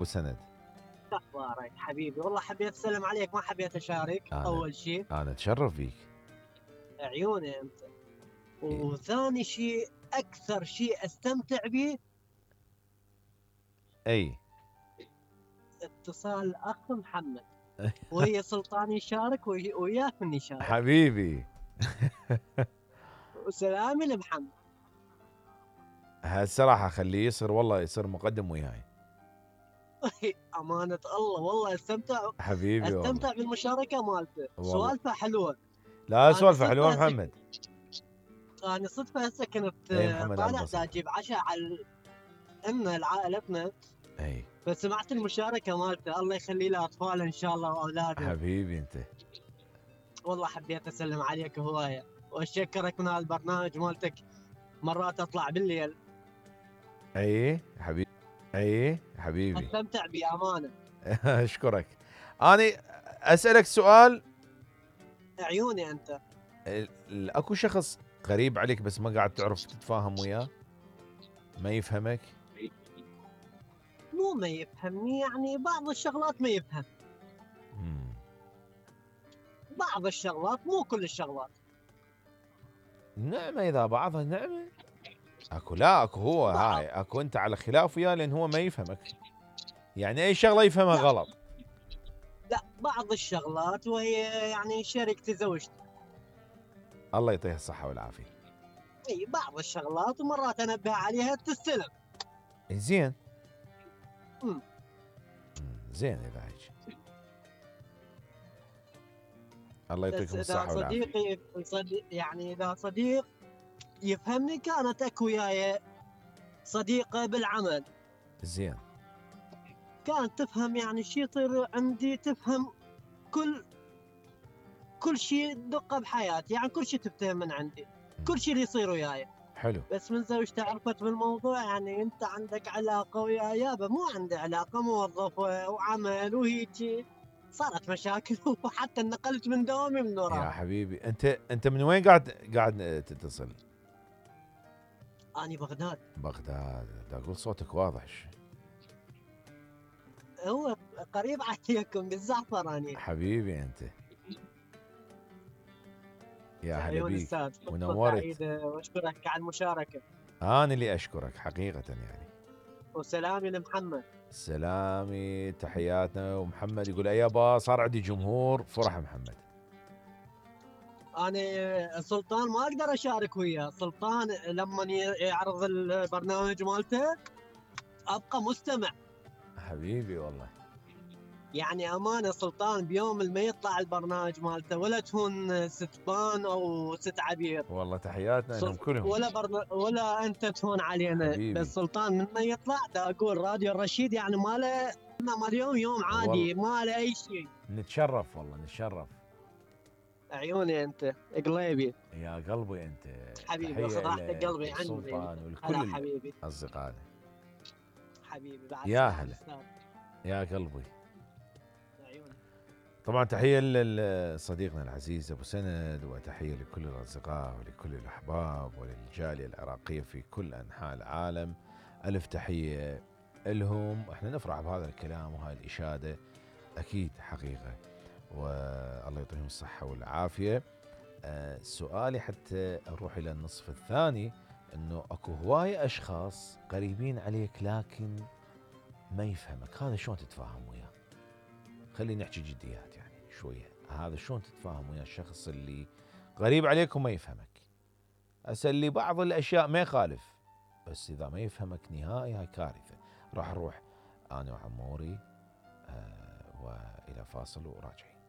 وسند. اخبارك حبيبي؟ والله حبيت اسلم عليك، ما حبيت اشارك انا اول شيء. انا اتشرف فيك. عيوني انت. إيه. وثاني شيء، اكثر شيء استمتع به اي. اتصال الاخ محمد وهي سلطان يشارك وياك من يشارك. حبيبي. وسلامي لمحمد. هالصراحه خليه يصير، والله يصير مقدم وياي. امانه الله والله حبيبي والله. استمتع بالمشاركه مالته، والله سوالفه حلوه. لا، انا سوالفه حلوه صدفه هسه محمد. انا صدفه هسه كنت اي محمد على طالع دا البصر. اجيب عشاء على عائلتنا، اي فسمعت المشاركه مالته. الله يخلي له اطفاله ان شاء الله واولاده. حبيبي انت. والله حبيت اسلم عليك هوايه واشكرك من هالبرنامج مالتك. مرات اطلع بالليل اي حبيبي. اي حبيبي. استمتع بامانه. اشكرك. انا اسالك سؤال. عيوني انت. اكو شخص غريب عليك بس ما قاعد تعرف تتفاهم وياه، ما يفهمك؟ مو ما يفهمني، يعني بعض الشغلات ما يفهم. مم. بعض الشغلات، مو كل الشغلات. نعمة، إذا بعضها نعمة. أكو لا أكو هو هاي أكو أنت على خلاف وياه لأن هو ما يفهمك، يعني أي شغلة يفهمها لا غلط. لا، بعض الشغلات وهي يعني شريكتي زوجتي. الله يعطيها الصحة والعافية. اي بعض الشغلات ومرات انبه عليها تستلم. زين. مم. زين إذا هيك. الله بس يعطيكم اذا الصحة والعافية. صديق يعني اذا صديق يفهمني، كانت اكو وياي صديقه بالعمل زين. كانت تفهم يعني شي يصير عندي، تفهم كل شيء دقه بحياتي، يعني كل شيء تفتهم من عندي، كل شيء اللي يصير وياي. حلو. بس من زوجتي عرفت بالموضوع، يعني انت عندك علاقه ويا يابا، مو عندي علاقه، موظف وعمل وهيجي، صارت مشاكل وحتى انقلت من دوامي من يا وراها. حبيبي أنت من وين قاعد تتصل؟ اني بغداد. بغداد. دا أقول صوتك واضح. هو قريب عليكم بالزعفراني. حبيبي أنت. يا هلا عيون بيك. استاذ، فرصه ونورت. سعيده واشكرك على المشاركه. أنا اللي أشكرك حقيقة يعني. وسلامي لمحمد. سلامي تحياتنا. ومحمد يقول يابا صار عندي جمهور فرح محمد. انا سلطان ما اقدر اشارك وياه، سلطان لما يعرض البرنامج مالته ابقى مستمع. حبيبي والله. يعني امانه سلطان، بيوم ما يطلع البرنامج مالته ولا تهون ست بان او ست عبير، والله تحياتنا لهم كلهم. ولا انت تهون علينا. حبيبي. بس سلطان من ما يطلع دا اقول راديو الرشيد يعني ما اليوم يوم عادي، ما له اي شيء. نتشرف والله نتشرف. عيوني انت قليبي. يا قلبي انت. حبيبي تحيه اخذ راحتك لك قلبي عني. والسلطان هلا ولكل حبيبي. اصدقائنا. حبيبي بعد يا سلام هلا. استاذ. يا قلبي. عيوني. طبعا تحيه لصديقنا العزيز ابو سند، وتحيه لكل الاصدقاء ولكل الاحباب وللجاليه العراقيه في كل انحاء العالم. الف تحيه لهم. احنا نفرح بهذا الكلام وهاي الاشاده اكيد حقيقه، والله يعطيهم الصحه والعافيه. سؤالي حتى نروح الى النصف الثاني، انه اكو هوايه اشخاص قريبين عليك لكن ما يفهمك، هذا شلون تتفاهم وياه؟ خلينا نحكي جديات يعني شويه، هذا شلون تتفاهم ويا الشخص اللي قريب عليك وما يفهمك؟ هسه اللي بعض الاشياء ما يخالف، بس اذا ما يفهمك نهائي هاي كارثه. راح نروح انا وعموري والى فاصل وراجعين.